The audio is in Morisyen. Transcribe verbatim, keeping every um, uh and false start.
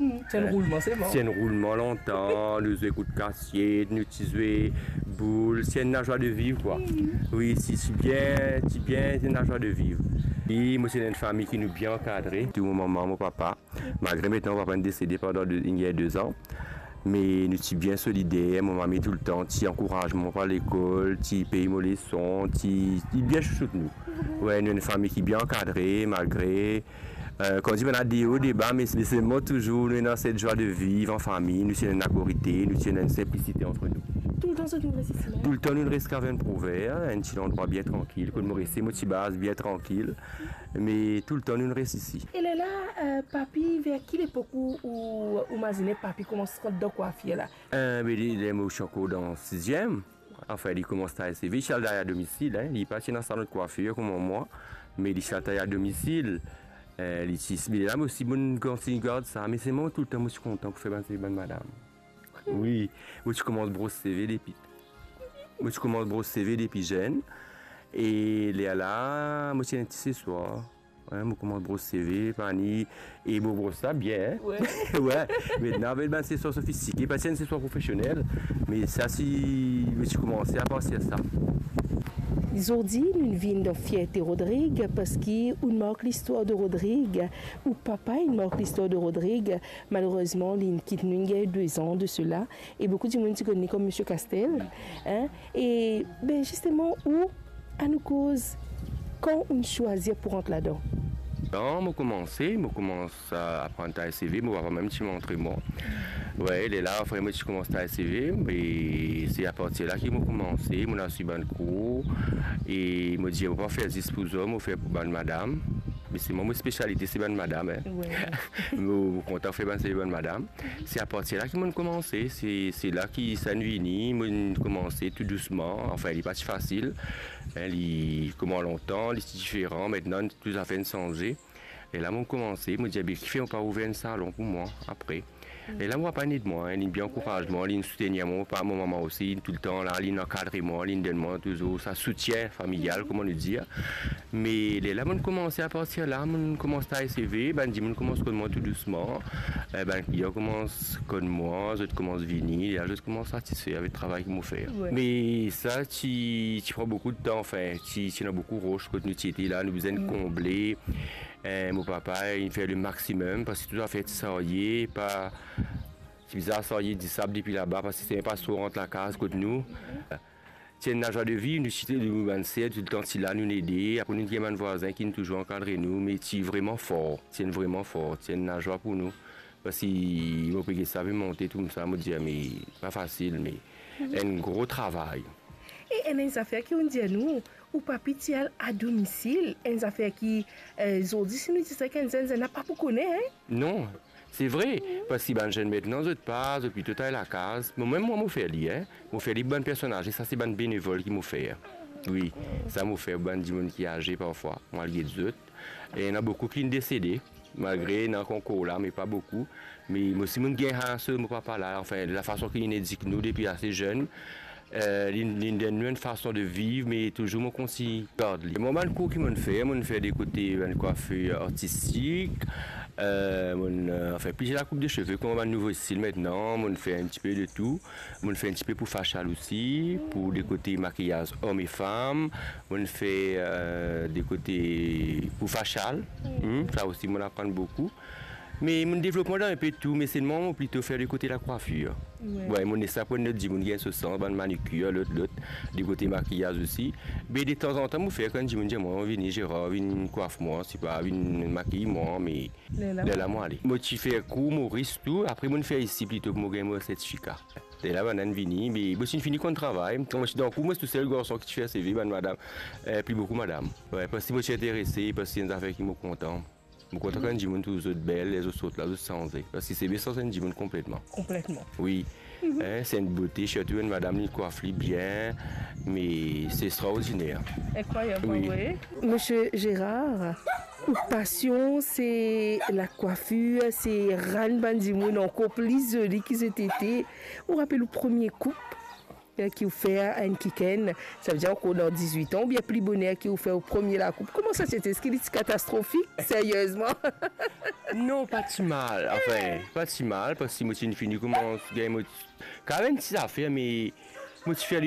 Hmm, ti enn roulman, se bon. Ti enn roulman lontan, nou zwe kout kasiet, nou ti zwe boul, ti enn lazwa de viv, kwa. Hmm. Wi, ti, ti bien, ti bien, ti enn lazwa de viv. E mo ti ena enn fami ki nou bien ankadre, tou mo mama, mo papa. Malgre aster mo papa inn desede pandan de, inn gagn de zan, me nou ti bien solider, mo mami toultan ti ankouraz mwa pou al lekol, ti pey mo leson, ti, ti bien chouchout nou. Wi, nou enn fami ki bien ankadre, malgre, eh, kouma dir, bann de o, de ba, me, me selman touzour nou ena set zwa de viv an fami, nou ti ena enn lakorite, nou ti ena enn sinplisite ant nou. Toultan zot inn res isi la? Toultan nou res Kavern Provè, enn ti landrwa bien trankil, kot mo reste, mo ti baz bien trankil. Me toultan nou res isi. E lerla, eh, papi, ver ki lepok ou, ou, ou mazine papi koumans rant dan kwafir la? Eh, be, li, ler mo ti ankor dan siziem, anfin, li koumans tay seve, li ti al tay a domisil, en. Li pa ti ena salon de kwafir kouma mwa, me li ti al tay a domisil. Eh, li ti, me la, mo osi, mo kontign gard sa, me selman toultan mo ti kontan pou fer bann seve bann madam. Wi, mo ti koumans bros seve depi, mo ti koumans bros seve depi zenn. E lerla, mo ti ena enn ti seswar. Wi, mo koumans bros seve, pa ni, e mo bros sa bien, en. Wi. Wi, me ena avel bann seswar sofistike, pa ti enn seswar profesionel, me sa ti, mo ti koumanse apartir sa. Zordi, nou vinn dan Fierte Rodrig, parski ou mark listwar de Rodrig, ou papa inn mark listwar de Rodrig, Malerezman, li inn kit nou, inn gagn de zan de sela, e boukou dimoun ti konn li kom Misie Kastel, en. E, be, zisteman, ou, anou koz, kan ou'nn swazir pou rant ladan? Non, mo koumanse, mo koumans, eh, aprann tay seve, mo papa mem ti montre mwa. Wi, lerla, apre mo ti koumans tay seve, e se apartir la ki mo koumanse, mo al swiv bann kour, e mo dir, mo pa fer zis pou zom, mo fer pou bann madam. Me selman mo spesialite se bann madam, en. Wi. Mo, mo kontan fer bann seve bann madam. Se apartir la ki mo'nn koumanse, se, se la ki sa inn vini, mo'nn koumanse tou dousman. Anfin, li pa ti fasil, en, li, kouma lontan, li ti diferan, aster tou zafer inn sanze. E la mo'nn koumanse, mo dir, be, kifer mo pa ouver enn salon pou mwa apre? E la mo papa inn ed mwa, en, li bien ankouraz mwa, li soutenir mwa, mo papa, mo mama osi, li toultan la, li ankadre mwa, li donn mwa touzour sa soutien familial, kouma nou dir. Me lerla mo'nn koumanse, apartir la mo'nn koumans tay seve, bann dimoun koumans konn mwa tou dousman. Eh, bann klian koumans konn mwa, zot koumans vini, lerla zot koumans satisfe avek travay ki mo fer. Wi. Me sa ti, ti pran boukou de tan, anfin, ti, ti ena boukou ros kot nou ti ete la, nou bizin konble. Eh, mo papa, li fer le maximum, parski tou zafer ti sarye, pa, ti bizin sarye disab depi laba, parski sime pa tro rant lakaz kot nou. Ti enn lazwa de viv, nou ti, nou bann ser toultan ti la, nou'nn ede. Apre nou ti gagn bann vwazin ki'nn touzour ankadre nou, me ti vreman for, ti enn vreman for, ti enn lazwa pou nou. Parski mo pe get sa pe monte koumsa, mo dir, me pa fasil, me enn gro travay. E ena enn zafer ki ou'nn dir nou, ou papi ti al a domisil, enn zafer ki, eh, zordi si nou dir sa, enn zenn, zenn la pa pou kone, en? Non, se vre, parski bann zenn aster zot pa, zot plito tay lakaz. Mo mem mwa mo fer li, en. Mo fer li bann personaz, e sa se bann benevol ki mo fer. Wi, sa mo fer bann dimoun ki aze parfwa, mo al get zot. E ena boukou ki'nn desede, malgre ena ankor la, me pa boukou. Me mo si mo'nn gagn sa, mo papa la, anfin, lafason ki li'nn edik nou depi ase zenn, eh, li, li'nn donn nou enn fason de viv, me touzour mo kontign gard li. Mwa bann kour ki mo'nn fer, mo'nn fer de kote bann kwafir artistik, eh, mo'nn, eh, anfin, plizier lakoup de seve, kouma bann nouvo stil aster, mo'nn fer enn tipe de tou. Mo'nn fer enn tipe pou fasial osi, pou de kote makiyaz om e fam. Mo'nn fer, eh, de kote pou fasial. Hmm, sa osi mo'nn aprann boukou. Me mo'nn devlop mwa dan enpe tou, me selman mo plito fer de kote lakwafir. Wi. Wi, mo'nn les sa pou enn lot dimoun gagn so sans, bann manikir, lot, lot, de kote makiyaz osi. Me detanzantan mo fer kan dimoun dir mwa, vini Gérard, vinn kwaf mwa, sipa vinn makiy mwa, me lerla mo ale. Mo ti fer kour Moris tou, apre mo'nn fer isi plito pou mo gagn mo sertifika. Lerla bannla inn vini, me mo ti'nn fini konn travay. Kan mo ti dan kour, mo ti tousel garson ki ti fer seve, bann madam, eh, pli boukou madam. Wi, parski mo ti interese, parski enn zafer ki mo kontan. Mo kontan kan dimoun trouv zot bel, ler zot sort la, zot sanze. Parski seve sanz enn dimoun konpletman. Konpletman. Wi. Mhm. En, se enn bote, sirtou enn madam, li kwaf li bien, me se extraordiner. Inkrwayab, wi. Misie Gérard, ou pasion se lakwafir, se rann bann dimoun ankor pli zoli ki zot ete. Ou rapel ou premie koup? ki ou fer enn kikenn, savedir ankor dan dizwit an, oubien pli boner ki ou fer ou premie lakoup? Kouma sa ti ete? Eski li ti katastrofik, seriezman? Non, pa ti mal. Anfin, pa ti mal, parski mo ti fini koumans gagn mo, karenn ti zafer, me mo ti fer